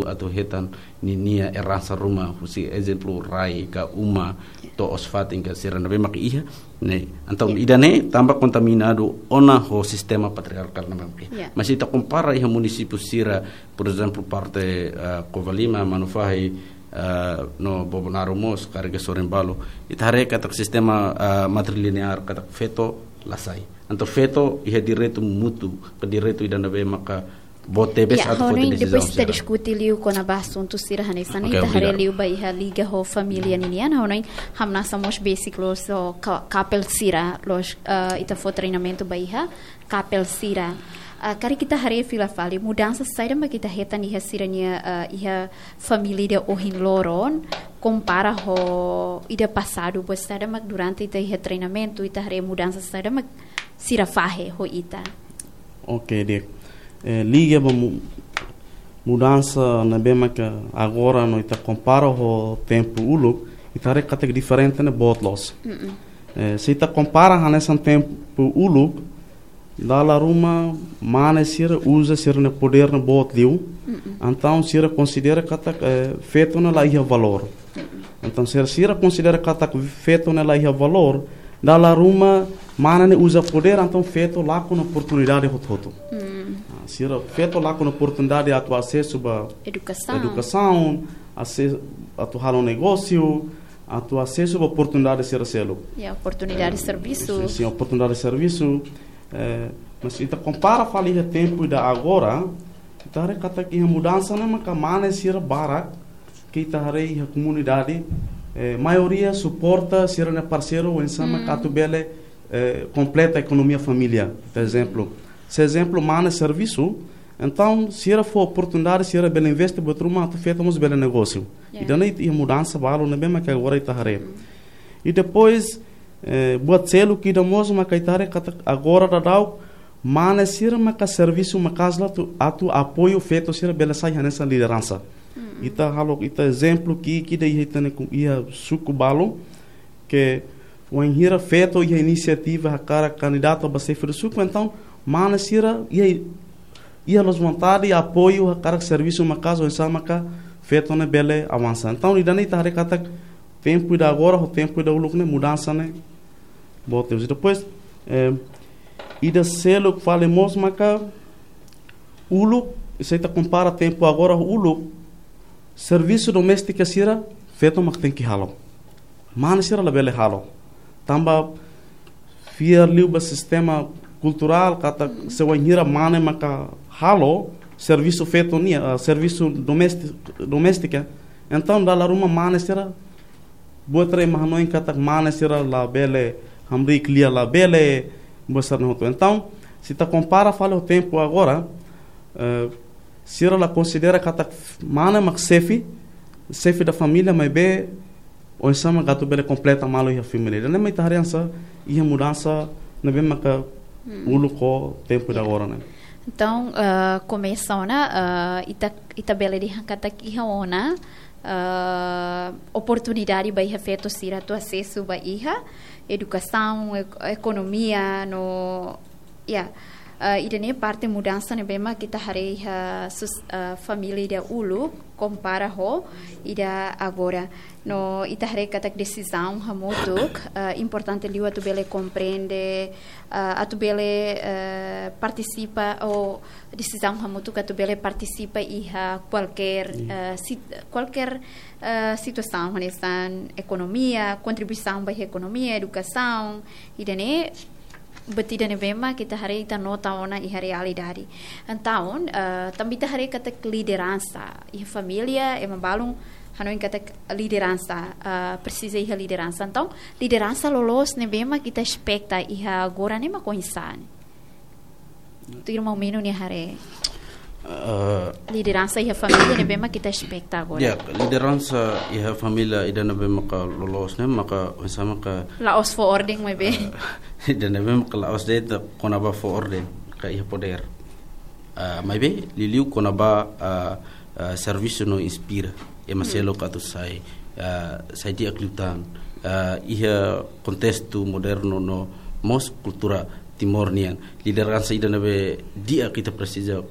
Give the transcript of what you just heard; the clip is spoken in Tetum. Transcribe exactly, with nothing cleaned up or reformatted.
atu hetan ninia eransa ruma, husi ezemplu rai ka uma, to'os-fatin ka sira ne'ebé mak iha, ne'e. Entaun, ida-ne'e tanba kontaminadu ona ho sistema patriarkál ne'ebé mak iha. Mas ita kompara iha munisípiu sira, por ezemplu, parte, ah, Covalima, Manufahi, ah, no Bobonaro mós, karik Sorembalo, ita haree katak sistema, ah, matrilineár, katak feto la sai. Entaun feto iha direitu mútuu, ka direitu ida ne'ebé maka boot tebes atu foti desizaun sira. Depois ita diskute liu kona-ba asuntu sira hanesan ne'e, ita haree liu ba iha liga ho família ninian, ha'u hanoin hamnasa mós basic loos ho ka-, kapel sira loos, eh, ita fó treinamentu ba iha kapel sira. Ah, karik ita haree fila fali, mudansa saida mak ita hetan iha sira-nia, eh, iha família ida ohin loron, kompara ho ida pasadu, buat saida mak durante ita iha treinamentu, ita haree mudansa saida mak sira fahe ho ita. Ok, di'ak. Eh, liga ba mu-, mudansa ne'ebé maka agora no ita kompara ho tempu uluk, ita haree katak diferente ne'e boot loos. Eh, se ita kompara hanesan tempu uluk, dala ruma mane sira uza sira-nia podér ne'e boot liu. Entaun sira konsidera katak, eh, feto ne'e la iha valór. Entaun, se sira konsidera katak feto ne'e la iha valór, dala ruma mane ne'e uza podér, entaun feto lakon oportunidade hotu-hotu. Ah, sira feto lakon oportunidade atu asesu ba edukasaun, ase-, atu halo negósiu, atu asesu ba oportunidade sira seluk. Ya, oportunidade servisu. Sin, sin, oportunidade servisu. Eh, mas ita kompara fali iha tempu ida agora, ita haree katak iha mudansa ne'e maka mane sira barak, ke ita haree iha komunidade, eh, maioria suporta sira-nia parseiru oinsá mak atu bele, eh, kompleta ekonomia família, por ezemplu. Se ezemplu mane servisu, entaun sira fó oportunidade, sira bele investe buat ruma atu feto mós bele negósiu. Ida-ne'e iha mudansa balu ne'ebé maka agora ita haree. I depois, eh, buat seluk ida mós maka ita haree katak agora daudaun mane sira maka servisu maka'as la atu, atu apoiu feto sira bele sai hanesan lideransa. Ita halo, ita ezemplu ki'ik ida iha ita-nia ku-, iha suku balu, ke wainhira feto iha inisiativa hakarak kandidata ba xefe suku, entaun mane sira iha, iha loos vontade apoiu hakarak servisu maka'as oinsá maka feto ne'e bele avansa. Entaun ida-ne'e ita haree katak tempu ida agora ho tempu ida uluk ne'e mudansa ne'e boot tebes. Depois, eh, ida seluk fali mós maka uluk, se ita kompara tempu agora ho uluk, servisu doméstika sira feto mak tenke halo. Mane sira labele halo. Tanba fiar liu ba sistema kulturál katak se wainhira mane maka halo servisu feto nian, ah, servisu domésti-, doméstika, entaun dala ruma mane sira buat rai mak hanoin katak mane sira labele hamriik lia, labele buat sira-ne'e hotu. Entaun, se ita kompara fali ho tempu agora, eh, sira la konsidera katak mane mak xefe, xefe da família, maibé oinsá mak atu bele kompleta malu iha família. Ida-ne'e mak ita haree hanesan iha mudansa ne'ebé maka uluk ho tempu ida agora ne'e. Entaun, eh, komesa ona, eh, ita, ita bele dehan katak iha ona, eh, oportunidade ba iha feto sira atu asesu ba iha edukasaun, ek-, ekonomia, no, ya, eh, ida-ne'e parte mudansa ne'ebé mak ita haree iha sus-, eh, família ida uluk kompara ho ida agora. No ita haree katak desizaun hamutuk, eh, importante liu atu bele komprende, eh, atu bele, eh, partisipa, ou desizaun hamutuk atu bele partisipa iha kualkér, eh, sit-, kualkér, eh, situasaun, hanesan ekonomia, kontribuisaun ba iha ekonomia, edukasaun, ida-ne'e buat ida ne'ebé mak ita haree, ita nota ona iha realidade. Entaun, eh, tanba ita haree katak lideransa iha família, ema balun hanoin katak lideransa, eh, presiza iha lideransa. Entaun, lideransa loloos ne'ebé mak ita espeta iha agora ne'e mak oinsá? Tuir maun Mino nia haree. Eh, lideransa iha família ne'ebé mak ita espeta agora? Ya, lideransa iha família ida ne'ebé maka loloos ne'e maka oinsá maka la'ós fó orden maibé. Eh, ida ne'ebé maka la'ós de'it kona-ba fó orden ka iha podér. Ah, maibé liuliu kona-ba, ah, ah, servisu no inspira ema seluk atu sai, ah, sai di'ak liután, ah, iha kontestu modernu no mós kultura Timor nian. Lideransa ida ne'ebé di'ak ita presiza